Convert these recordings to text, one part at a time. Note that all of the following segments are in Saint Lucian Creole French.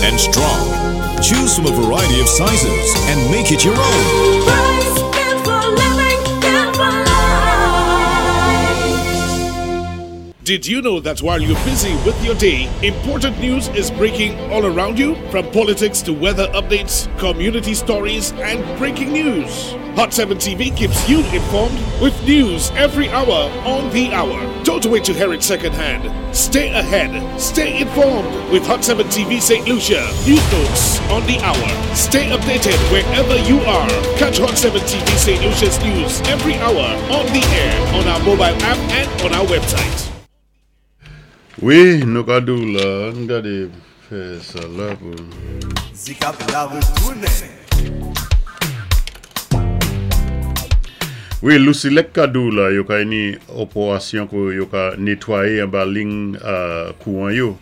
And strong. Choose from a variety of sizes and make it your own. Rice built for living, built for life. Did you know that while you're busy with your day, important news is breaking all around you? From politics to weather updates, community stories, and breaking news. Hot 7 TV keeps you informed with news every hour on the hour. Don't wait to hear it secondhand. Stay ahead. Stay informed with Hot 7 TV St. Lucia. News notes on the hour. Stay updated wherever you are. Catch Hot 7 TV St. Lucia's news every hour on the air, on our mobile app, and on our website. Wi, nou ka di-w la, an gadé fè sa la pou. Zikap la retounen. Wi, Lucelec ka di-w la, yo kay ni opérasyon ko yo ka nétwayé anba lign kouwan yo.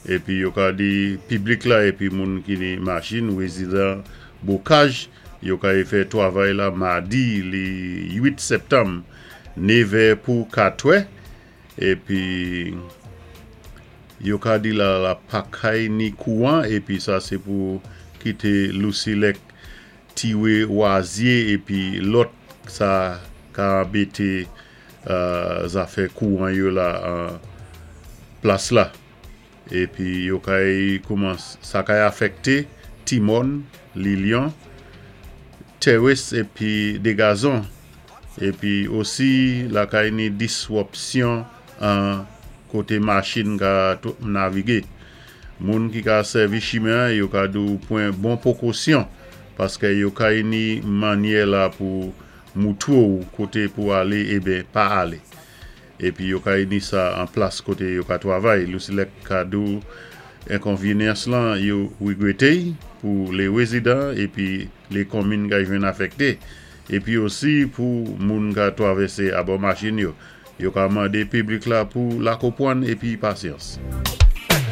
Épi yo ka di piblik la épi moun ki ni machin, wézidan Bocage, yo kay fè twavay la madi li 8 sèptanm, 9è pou 4è. Épi yo ka di la la pa kay ni kouwan épi sa sé pou kité Lucelec tiwé wazyé épi lòt sa ka anbété zafè kouwan yo la an plas la. Épi yo kay kouman sa kay afèkté Timòn, Lilion, Terrace épi Degazon. Épi osi la kay ni diswopsyon an koté machin ka navigé. Moun ki ka sèvi chimen yo ka di-w pwan bon pwékosyon paské yo kay ni mannyè la pou moutwé-w koté pou alé ébyen pa alé. Épi yo kay ni sa an plas koté yo ka twavay. Lucelec ka di-w enkonvényans lan yo wégwété pou lé wézidan épi lé konminn kay jwenn afèkté. Épi osi pou moun ka twavèsé abò machin yo. Yo ka mandé piblik la pou la konpwann épi pasyans.